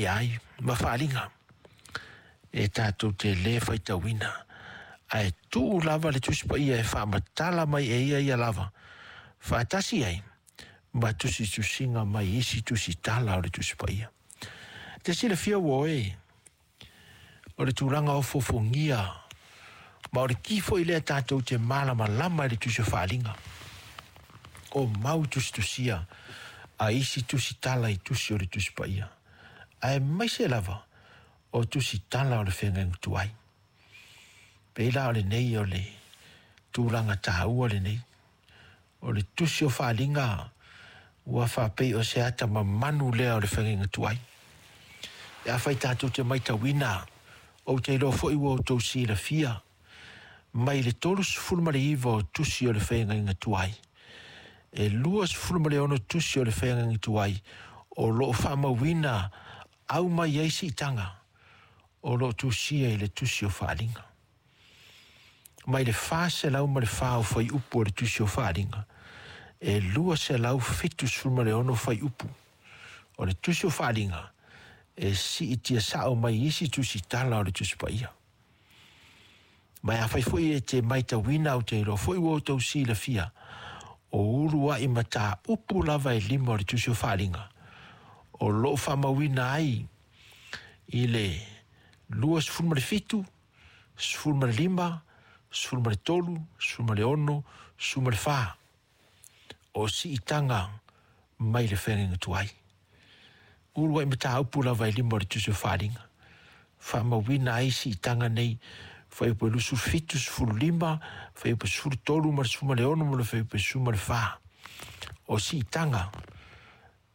ai ma faaaliga e tatou te lē faitauina, ae tuu lava le Tusi Paia e faamatala mai e ia ia lava faatasi ai ma tusitusiga mai isi tusitala o le Tusi Paia. Te silafia ua oe o le tulaga o fofogia ma o le ki foi lea tatou te malamalama i le tusi o faaaliga o mau tusitusia a isi tusitala i tusi o le Tusi Paia, aemaise lava o tusitala o le feagaiga tuai. Pei la o lenei o le tulaga taua lenei o le tusi o faaaliga ua faapei o se ata mamanu lea o le feagaiga tuai. E afai tatou te matauina, ou te iloa foi ua outou silafia, mai le 39 o tusi o le feagaiga tuai, e 26 tusi o le feagaiga tuai o lo o faamauina au mai ai siitaga o lo o tusia i le tusi o faaaliga. Mai le 404 o fuaiupu o le tusi o faaaliga, e 276 fuaiupu o le tusi o faaaliga e siitia sao mai isi tusitala o le Tusi Paia. Ma afai foi e te matauina, ou te iloa foi ua outou silafia, o uluai mataupu lava e 5 o le tusi o faaaliga o lo o faamauina ai i le 27, 15, 13, 16, 14 o siitaga mai le feagaiga tuai. Uluai mataupu lava e 5 o le tusi o faaaliga faamauina ai siitaga nei, fuaiupu 27, 15, fuaiupu 13 ma le 16 ma le fuaiupu 14 o siitaga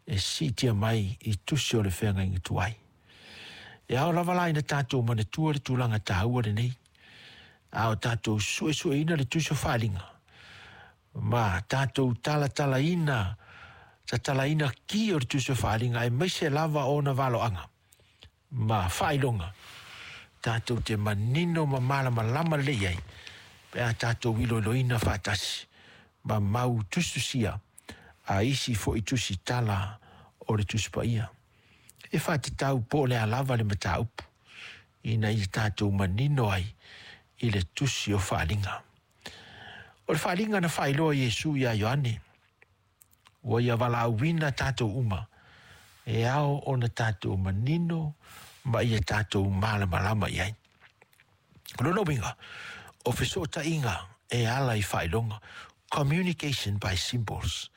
e siitia mai i tusi o le feagaiga tuai. E ao lava la ina tatou manatua le tulaga taua lenei, a o tatou suesueina le tusi o faaaliga ma tatou talatalaina tatalaina ki o le tusi o faaaliga, aemaise lava ona valoaga ma faailoga, tatou te manino ma malamalama lelei ai pe a tatou iloiloina faatasi ma mau tusitusia a isi foi tusitala o le Tusi Paia. E faatatau po o le a lava le mataupu ina ia tatou manino ai i le tusi o faaaliga. O le faaaliga na faailoa Iesu ia Ioane, ua ia valaauina tatou uma, e ao ona tatou manino ma ia tatou malamalama i ai. O lona uiga, o fesootaiga e ala i faailoga, communication by symbols.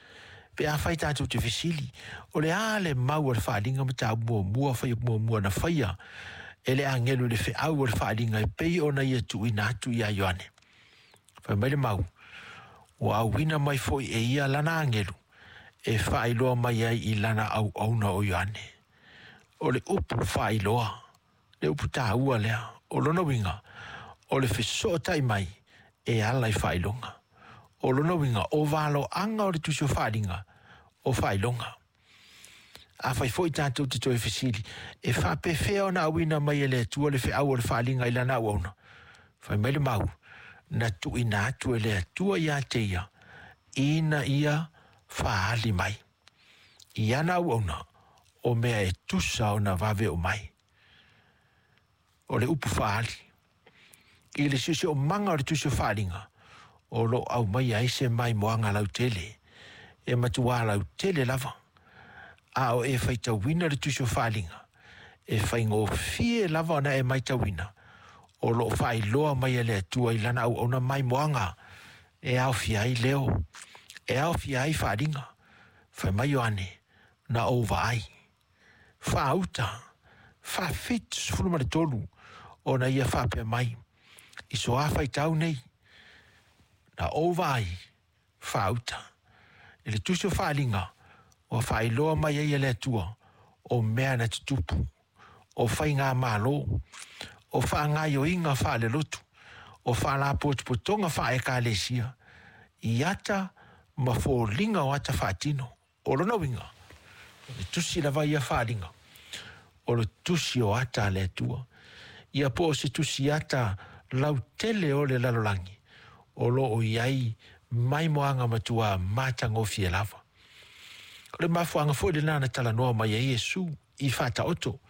Pe afai tatou te fesili, o le a le mau o le faaaliga mataupu muamua, fuaiupu muamua na faia e le agelu i le feau o le faaaliga e pei ona ia tuuina atu ia Ioane. Fai mai le mau, ua auina mai foi e ia lana agelu e faailoa mai ai i lana auauna o Ioane. O le upu faailoa, le upu taua lea, o lona uiga, o le fesootai mai e ala i faailoga. O lona uiga, o valoaga o le tusi o faaaliga, o faailoga. Afai foi tatou te toe fesili, e faapefea ona auina mai e le Atua le feau o le faaaliga i lana auauna? Fai mai le mau, na tuuina atu e le Atua ia te ia, ina ia faali mai i ana auauna o mea e tusa ona vave o mai. O le upu faali i le siosiomaga o le tusi o faaaliga o lo o aumaia ai se maimoaga lautele, e matua lautele lava, a o e faitauina le tusi o faaaliga, e faigofie lava ona e matauina o lo o faailoa mai e le Atua i lana auauna maimoaga e aofia ai leo, e aofia ai faaaliga. Fai mai Ioane, na ou vaai, faauta, 73 ona ia faapea mai, i so a faitau nei, na ou vaai, faauta. I le tusi o faaaliga, ua faailoa mai ai e le Atua o mea na tutupu, o faigamalo, o faagaioiga faalelotu, o faalapotopotoga faaekalesia, i ata ma foliga o ata faatino. O lona uiga, o le tusi lava ia faaaliga, o le tusi o ata a le Atua. Ia po o se tusi ata lautele o le lalolagi, o lo o i ai maimoaga matua matagofie lava. O le mafuaaga foi lena na talanoa mai ai Iesu i faataoto.